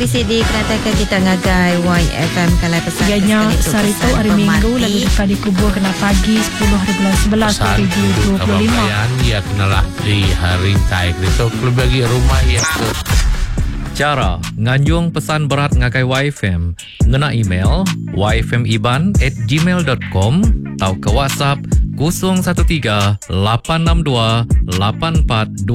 Bisi dikenataika kita ngagai YFM Kalai Pesan Iya ke nya sekali tu sehari tu pesan hari Minggu lalu pemati. deka dikubur kena pagi 10 hari bulan 11 Pesan untuk kaban 2025. belayan iya kenalah di rintai ditu kelebih agi rumah iya ke Chara nganjung pesan berat ngagai YFM ngena email yfmiban at gmail dot com tauka WhatsApp 013 862 8422.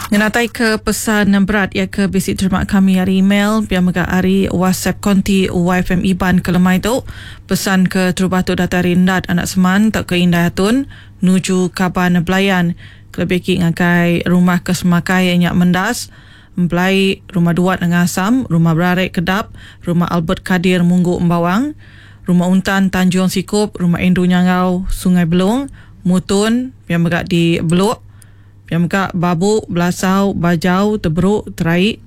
Ngenatai ke pesan berat iya ke bisi terima kami ari email pia mega ari WhatsApp konti YFM Iban ke lemai tu. Pesan ke terubah tu datai ari Endat Anak Seman tauka Indai Atun nuju kaban belayan kelebih agi ngagai rumah ke semakai iya nya Mendas, Empelai, Rumah Duat Nengah Asam, Rumah Berarek Kedap, Rumah Albert Kadir Munggu Embawang, Rumah Untan Tanjung Sikup, Rumah Andrew Nyanggau Sungai Belung, Mutun, pia mega di Beluk, pia mega Babu, Belasau, Bajau, Teberuk, Teraik,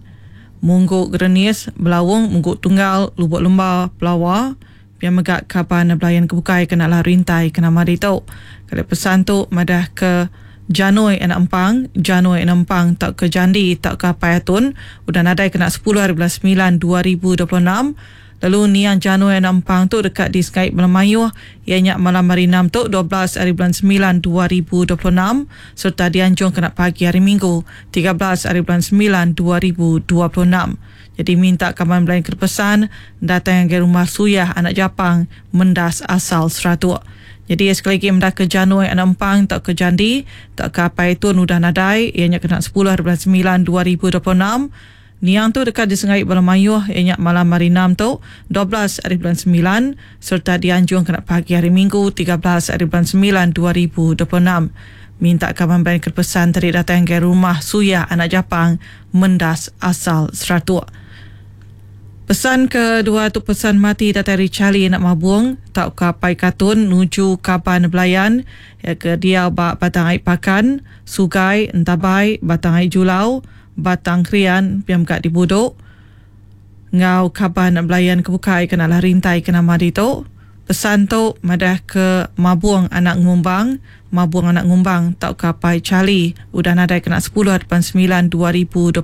Munggu Gerenis, Belaung, Munggu Tunggal, Lubuk Lemba, Pelawa, pia mega kaban belayan ke bukai kena lah rintai ke nama ditu. Kali pesan tu madah ke Janoi anak Empang, Janoi anak Empang tauka Jandi tauka Apai Atun udah nadai kena 10 hari bulan 9 2026 lalu niang Janoi anak Empang tu deka disegai bala mayuh iya nya malam hari 6 tu 12 hari bulan 9 2026 sereta dianjung kena pagi hari Minggu 13 hari bulan 9 2026. Jadi minta kaban belayan ke pesan datang ngagai rumah Suyah anak Japang Mendas asal Seratuk. Jadi sekali lagi meda ke Janoi anak Empang tauka Jandi tauka Apai Tun udah nadai iya nya kena 10 hari bulan 9 2026. Niang tu deka disengai bala mayuh iya nya malam hari 6 tu 12 hari bulan 9 sereta dianjung kena pagi hari Minggu 13 hari bulan 9 2026. Minta kaban belayan ke pesan tadi datang ngagai rumah Suyah anak Japang Mendas asal Seratuk. Pesan kedua tu pesan mati datai ari Charlie anak Mabung tauka Apai Katun nuju kaban belayan iya ke diau ba Batang Ai Pakan, Sugai, Entabai, Batang Ai Julau, Batang Krian pia mega di Budok enggau kaban belayan ke bukai ke nalah rintai ke nama ditu. Pesan tu madah ke Mabung anak Ngumbang, Mabung anak Ngumbang tauka Apai Charlie udah nadai kena 10 hari 9 2026.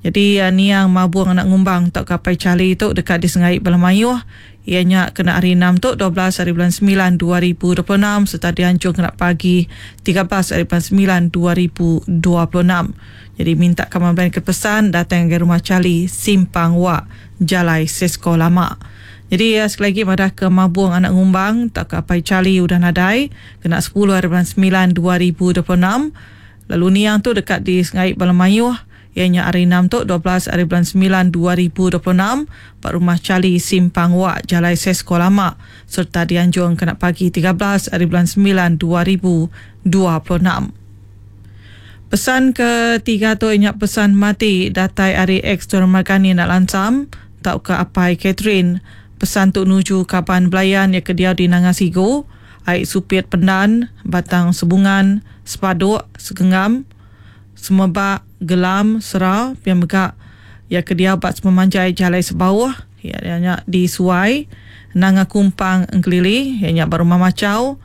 Jadi niang Mabung anak Ngumbang tauka Apai Charlie tu deka disengai bala mayuh iya nya kena hari 6 tu 12 hari bulan 9 2026 sereta dianjung kena pagi 13 hari bulan 9 2026. Jadi minta kaban belayan ke pesan datang ngagai rumah Charlie Simpang Wak Jalai Sesko Lama. Jadi sekali lagi madah ke Mabung anak Ngumbang tauka Apai Charlie udah nadai kena 10 hari bulan 9 2026 lalu niang tu deka disengai bala mayuh iya nya hari 6 tu 12 hari bulan 9 2026 ba rumah Charlie Simpang Wak Jalai Sesko Lama sereta dianjung kena pagi 13 hari bulan 9 2026. Pesan ketiga tu iya nya pesan mati datai ari ex Tuan Margani anak Lansam tauka Apai Catherine. Pesan tu nuju kaban belayan iya ke diau di Nanga Sigu, Ai Supit Pendan, Batang Sebungan, Sepaduk, Segenggam, Semebak, Gelam, Sera, pia mega iya ke diau ba sepemanjai Jalai Sebauh, iya nya di Suai, Nanga Kumpang Engkelili, iya nya ba Rumah Machau,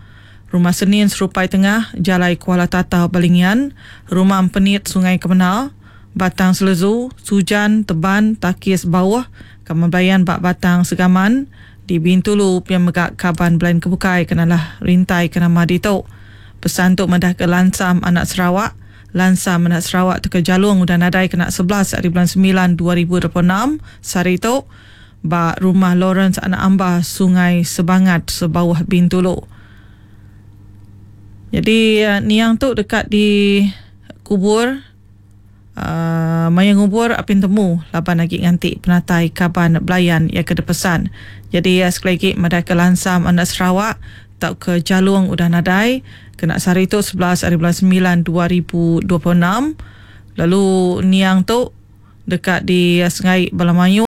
Rumah Senin Serupai Tengah, Jalai Kuala Tatau Balingian, Rumah Empenit Sungai Kemena, Batang Selezu, Sujan, Teban, Takis Bauh, Kaban Belayan ba Batang Segaman, di Bintulu pia mega kaban belayan ke bukai ke nalah rintai ke nama ditu. Pesan tu madahka Lansam Anak Sarawak, Lansam Anak Sarawak tauka Jalung udah nadai kena 11 ari bulan 9 2026 sehari tu ba Rumah Lawrence Anak Amba, Sungai Sebangat, Sebauh Bintulu. Jadi niang tu deka dikubur uh, maya ngubur apin temu laban agi nganti penatai kaban belayan iya ke dipesan. Jadi sekali lagi madahka Lansam Anak Sarawak tauka Jalung udah nadai kena sehari tu 11 hari bulan 9 2026 lalu niang tu deka disengai bala mayuh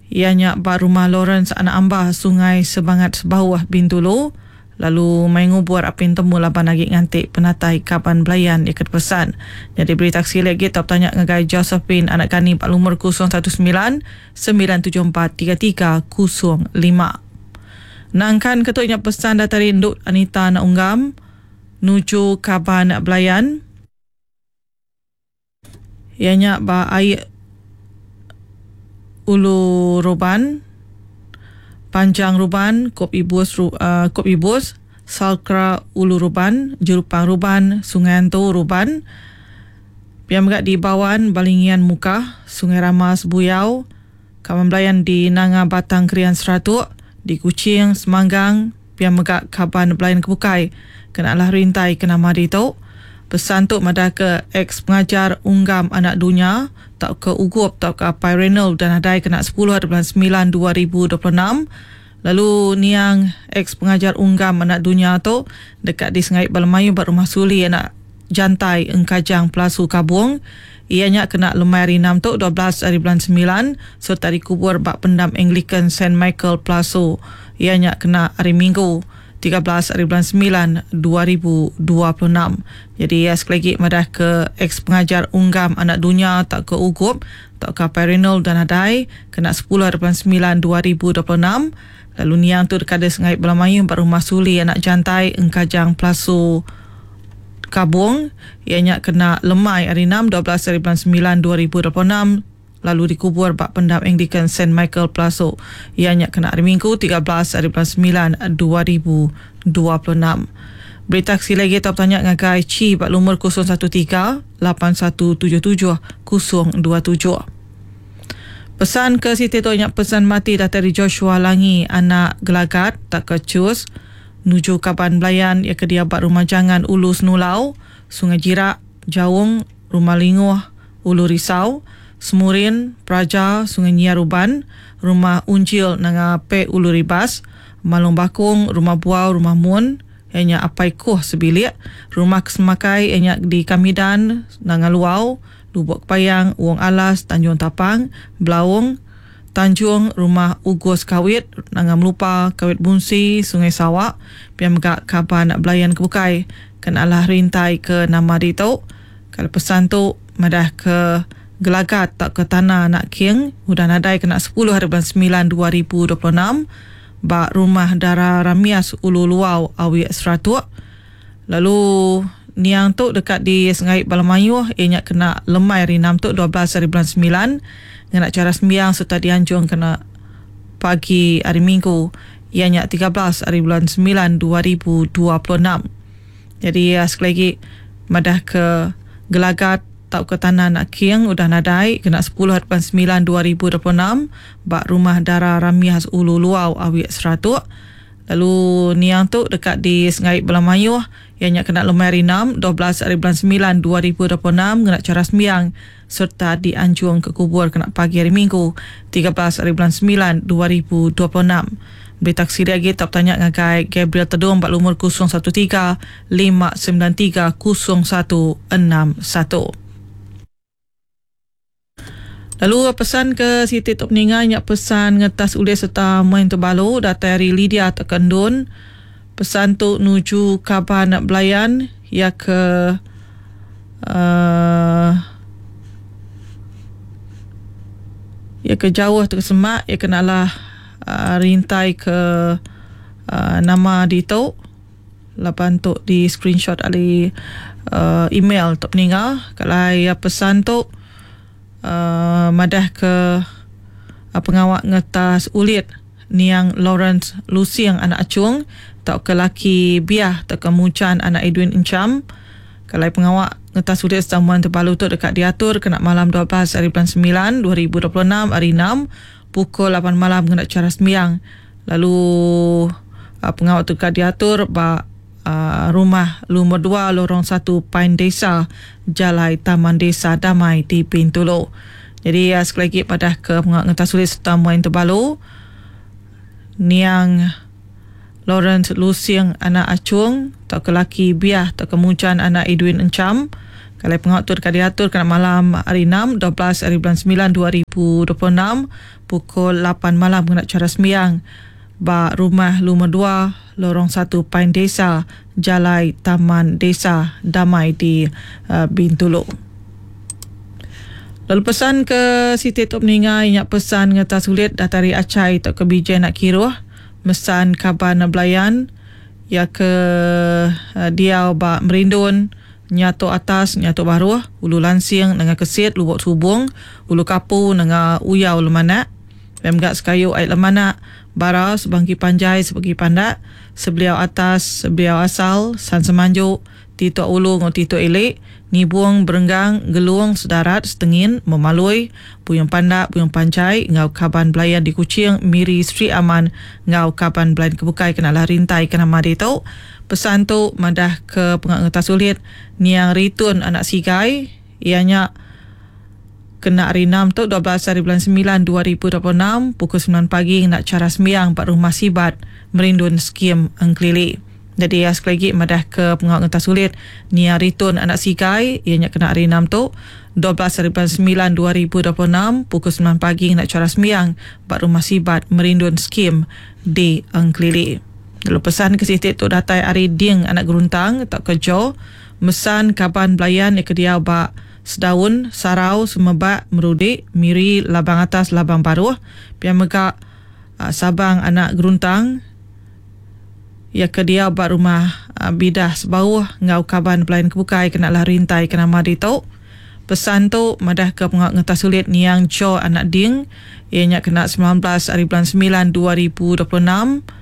iya nya ba Rumah Lawrence Anak Amba, Sungai Sebangat Sebauh, Bintulu lalu mai ngubur apin temu laban agi nganti penatai kaban belayan iya ke dipesan. Nyadi berita ke silik agi tau betanya ngagai Josephine Anak Gani ba lumur 019 974 3305. Nangkan ke tu nya pesan datai ari Endu Anita Anak Unggam nuju kaban belayan. Ianya ba ai Ulu Roban, Panjang Ruban, Kop Ibus, Kop Ibus, Salcra Ulu Ruban, Jerupang Ruban, Sungai Antu Ruban. Pia mega di Bawan, Balingian Mukah, Sungai Ramas Buyau, Kaban Belayan di Nanga Batang Krian Seratuk, di Kuching, Semanggang, pia mega kaban belayan ke bukai kena alah rintai ke nama ditu. Pesan tu madahka ex-pengajar Unggam Anak Dunya tauka Ugup tauka Apai Reynold udah nadai kena sepuluh ari bulan semilan 2026 lalu niang ex-pengajar Unggam Anak Dunya tu deka disengai bala mayuh ba Rumah Suli Anak Jantai Engkajang Pelasu Kabong iya nya kena lemai hari enam tu 12 ari bulan semilan sereta dikubur ba Pendam Anglican Saint Michael Pelasu iya nya kena hari Minggu 13 ari bulan semilan 2026. Jadi iya sekali agi madah ke ex pengajar Unggam Anak Dunya tauka Ugup tauka Apai Reynold udah nadai kena 10 ari bulan semilan 2026 lalu niang tu deka disengai bala mayuh ba Rumah Suli Anak Jantai Engkajang Pelasu Kabong iya nya kena lemai hari enam 12 ari bulan semilan 2026 lalu dikubur ba Pendam Anglican Saint Michael Pelasu iya nya kena hari Minggu 13 ari bulan semilan 2026. Berita ke sili agi tau betanya ngagai Chi ba lumur 013 8177 027. Pesan ke siti tu nya pesan mati datai ari Joshua Langi anak Gelagat tauka Chus nuju kaban belayan iya ke diau ba Rumah Jangan Ulu Senulau, Sungai Jirak, Jaung, Rumah Linguh, Ulu Risau, Semurin, Praja, Sungai Nyia Ruban, Rumah Unjil Nanga Pe Ulu Ribas, Malong Bakong, Rumah Buau, Rumah Mun, iya nya Apai Kuh sebilik, Rumah Kesemakai iya nya di Kamidan, Nanga Luau, Lubok Kepayang, Wong Alas, Tanjung Tapang, Belaong, Tanjung, Rumah Ugus Kawit, Nanga Melupa, Kawit Bunsi, Sungai Sawa, pia mega kaban belayan ke bukai ke alah rintai ke nama ditu. Kalau pesan tu madah ke Gelagat tauka Tanah Anak King udah nadai kena 10 hari bulan 9 2026 ba Rumah Dara Ramias Ulu Luau Awik Seratuk. Lalu niang tu deka disengai bala mayuh iya nya kena lemai hari 6 tu 12 hari bulan 9 ngena chara sembiang sereta dianjung kena pagi hari Minggu iya nya 13 hari bulan 9 2026. Jadi sekali agi madah ke Gelagat tauka Tanah Anak King udah nadai kena 10 hari bulan 9 2026 ba Rumah Dara Ramias Ulu Luau Awik Seratuk. Lalu niang tu deka disengai bala mayuh iya nya kena lemai hari 6 12 hari bulan 9 2026 ngena chara sembiang sereta dianjung ke kubur kena pagi hari Minggu 13 hari bulan 9 2026. Berita ke silik agi tau betanya ngagai Gabriel Tedong ba lumur 013 593 0161. Lalu pesan ke siti tu peninga nya pesan ngetas ulih sereta main tebalu datai ari Lydia tauka Endun. Pesan tu nuju kaban belayan iya ke uhh iya ke jauh tauka semak iya ke nalah uhh rintai ke uhh nama ditu laban tu di screenshot ari uhh email tu peninga kalai pesan tu uhh madah ke pengawa ngetas ulit niang Lawrence Lusing anak Achung tauka laki Biah tauka Mujan anak Edwin Encham. Kelai pengawa ngetas ulit Samuan Tebalu tu deka diatur kena malam 12 hari bulan 9 2026 hari 6 pukul 8 malam ngena chara sembiang lalu pengawa tu deka diatur ba rumah lumur 2 Lorong 1 Pine Desa Jalai Taman Desa Damai di Bintulu. Jadi sekali agi padah ke pengawa ngetas ulit sereta muai Tebalu niang Lawrence Lusing anak Achung tauka laki Biah tauka Mujan anak Edwin Encham. Kalai pengawa tu deka diatur kena malam hari 6 12 hari bulan 9 2026 pukul 8 malam ngena chara sembiang ba rumah lumur 2 Lorong 1 Pine Desa Jalai Taman Desa Damai di Bintulu. Lalu pesan ke siti tu peninga iya nya pesan ngetas ulit datai ari Achai tauka Bijai anak Kiruh mesan kaban belayan iya ke diau ba Merindun. Nyatok Atas, Nyatok Baruh, Ulu Lansing, Nanga Kesit, Lubok Subong, Ulu Kapu, Nanga Uyau Lemanak, pia mega sekayu ai Lemanak, Bara, Sebangki Panjai, Sebangki Pandak, Sebeliau Atas, Sebeliau Asal, San Semanju, Titok Ulu enggau Titok Ili, Nibong, Berenggang, Gelung, Sedarat, Setengin, Memalui, Buyung Pandak, Buyung Panjai enggau kaban belayan di Kuching, Miri, Sri Aman enggau kaban belayan ke bukai kena alah rintai ke nama ditu. Pesan tu madah ke penga ngetas ulit niang Ritun anak Sigai iya nya kena hari Enam tu 12 hari bulan semilan 2026 pukul semilan pagi ngena chara sembiang ba Rumah Sibat Merindun Skim Engkelili. Nyadi iya sekali agi madah ke pengawa ngentas ulit Nia Ritun anak Sigai iya nya kena hari Enam tu 12 hari bulan semilan 2026 pukul semilan pagi ngena chara sembiang ba Rumah Sibat Merindun Skim di Engkelili. Lalu pesan ke siti tu datai ari Ding anak Geruntang tauka Joe mesan kaban belayan iya ke diau ba Sedaun, Sarau, Semebak, Merudi, Miri, Labang Atas, Labang Baruh pia mega Sabang anak Geruntang iya ke diau ba rumah Bidah Sebauh enggau kaban belayan ke bukai kena lah rintai ke nama ditu. Pesan tu madahka pengawa ngetas ulit niang Joe anak Ding iya nya kena 19 ari bulan semilan 2026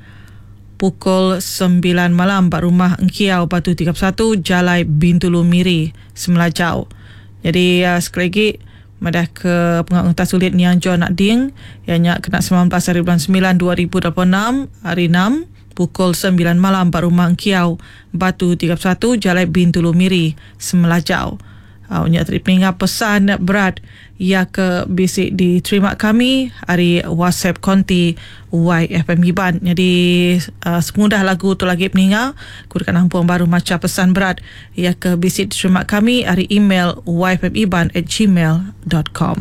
pukul sembilan malam ba rumah Engkiau Batu 31 Jalai Bintulu Miri Semelajau. Nyadi sekali agi Madah ke pengawa ngetas ulit niang John Nak Ding iya nya kena 19 hari bulan semilan 2026, Hari Enam, pukul sembilan malam ba Rumah Engkiau, Batu 31, Jalai Bintulu Miri, Semelajau. Au nya tadi peninga pesan berat iya ke bisi diterima kami ari WhatsApp konti YFM Iban. Nyadi uh, sepengudah lagu tu lagi peninga, ku deka nampung baru macha pesan berat Iya ke bisi diterima kami ari email yfmiban@gmail.com.